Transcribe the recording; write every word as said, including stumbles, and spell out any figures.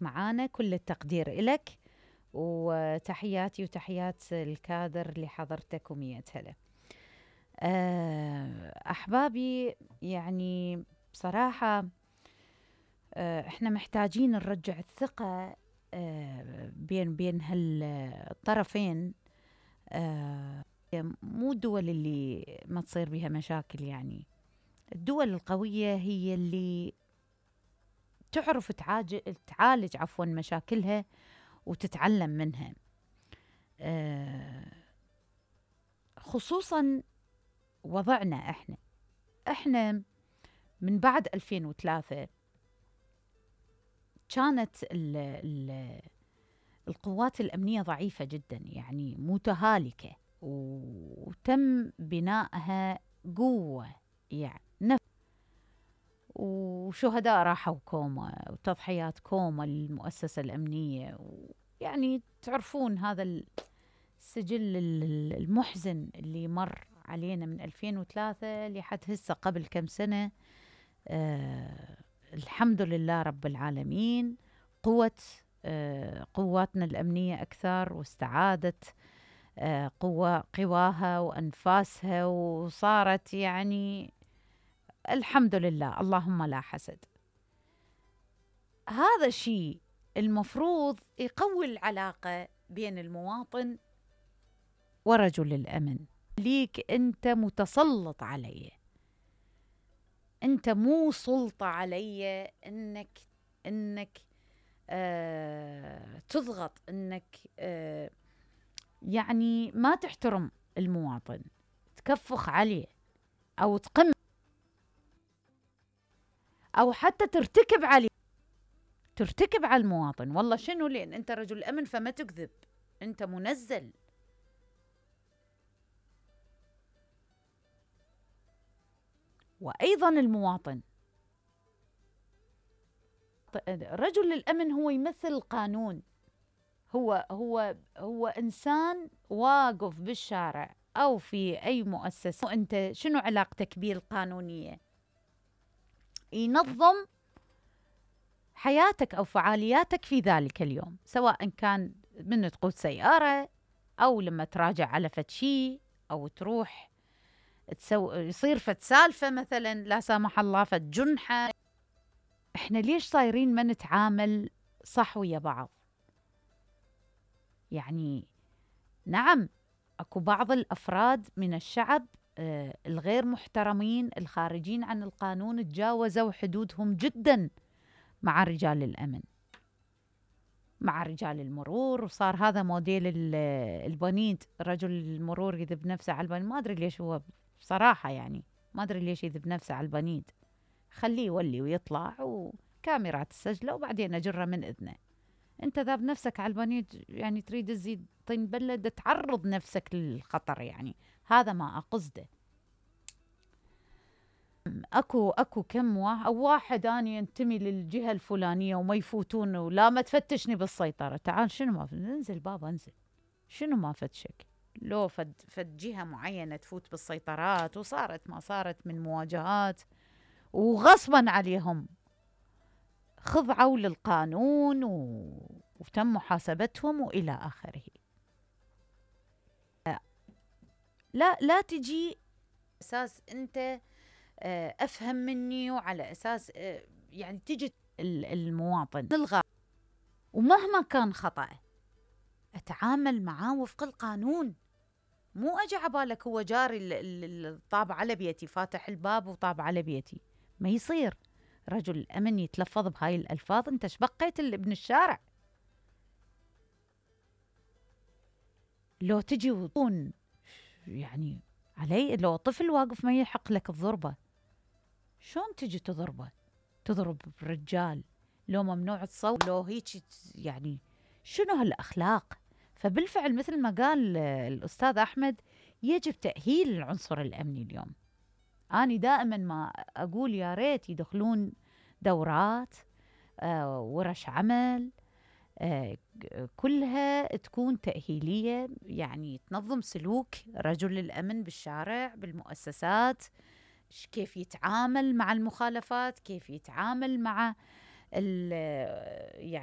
معانا. كل التقدير إلك، وتحياتي وتحيات الكادر اللي حضرتك ومية هلا. أحبابي، يعني بصراحة احنا محتاجين نرجع الثقة بين بين هالطرفين. مو الدول اللي ما تصير بها مشاكل، يعني الدول القوية هي اللي تعرف تعالج تعالج عفوا مشاكلها وتتعلم منها. خصوصا وضعنا احنا احنا من بعد ألفين وثلاثة كانت ال ال القوات الأمنية ضعيفة جدا، يعني متهالكة، وتم بنائها قوة، يعني نفس وشهداء راحوا كوما وتضحيات كوما للمؤسسة الأمنية. يعني تعرفون هذا السجل المحزن اللي مر علينا من ألفين وثلاثة لحد هسه قبل كم سنة. آه الحمد لله رب العالمين، قوة آه قواتنا الأمنية أكثر، واستعادت آه قوة قواها وأنفاسها، وصارت يعني الحمد لله، اللهم لا حسد. هذا الشيء المفروض يقوي العلاقة بين المواطن ورجل الأمن. ليك أنت متسلط علي، أنت مو سلطة علي أنك أنك آه تضغط، أنك آه يعني ما تحترم المواطن، تكفخ عليه أو تقم أو حتى ترتكب عليه ترتكب على المواطن. والله شنو؟ لأن أنت رجل أمن فما تكذب، أنت منزل. وأيضا المواطن، رجل الأمن هو يمثل القانون، هو هو هو إنسان واقف بالشارع أو في أي مؤسسة. وأنت شنو علاقتك به القانونية؟ ينظم حياتك أو فعالياتك في ذلك اليوم، سواء كان من تقود سيارة، أو لما تراجع على فد شي، أو تروح تسو... يصير فد سالفة مثلا لا سامح الله، فد جنحة. احنا ليش صايرين ما نتعامل صح ويا بعض؟ يعني نعم، اكو بعض الأفراد من الشعب آه الغير محترمين الخارجين عن القانون تجاوزوا حدودهم جدا مع رجال الأمن، مع رجال المرور. وصار هذا موديل البنيد، رجل المرور يذب نفسه على البنيد. ما أدري ليش هو بصراحة، يعني ما أدري ليش يذب نفسه على البنيد. خليه يولي ويطلع وكاميرات تسجله وبعدين أجره من إذنه. أنت ذاب نفسك على البنيد، يعني تريد تزيد طين بلد، تعرض نفسك للخطر. يعني هذا ما أقصده. اكو اكو كم واحد او واحد اني ينتمي للجهه الفلانيه وما يفوتون، ولا ما تفتشني بالسيطره. تعال شنو ما انزل بابا انزل، شنو ما فتشك؟ لو فد فد جهه معينه تفوت بالسيطرات، وصارت ما صارت من مواجهات وغصبا عليهم خضعوا للقانون و... وتم محاسبتهم والى اخره. لا لا تجي اساس انت أفهم مني، وعلى أساس يعني تجي المواطن نلغى، ومهما كان خطأ أتعامل معاه وفق القانون. مو أجي عبالك هو جاري الطاب على بيتي، فاتح الباب وطاب على بيتي. ما يصير رجل الأمن يتلفظ بهاي الألفاظ. أنت شبقيت ابن الشارع. لو تجي وطون يعني علي، لو طفل واقف ما يحق لك الضربة، شلون تجي تضربه؟ تضرب رجال؟ لو ممنوع تصوت، لو هيك، يعني شنو هالأخلاق؟ فبالفعل مثل ما قال الأستاذ أحمد، يجب تأهيل العنصر الأمني اليوم. أنا دائما ما أقول يا ريت يدخلون دورات، آه ورش عمل، آه كلها تكون تأهيلية، يعني تنظم سلوك رجل الأمن بالشارع بالمؤسسات، كيف يتعامل مع المخالفات، كيف يتعامل مع يعني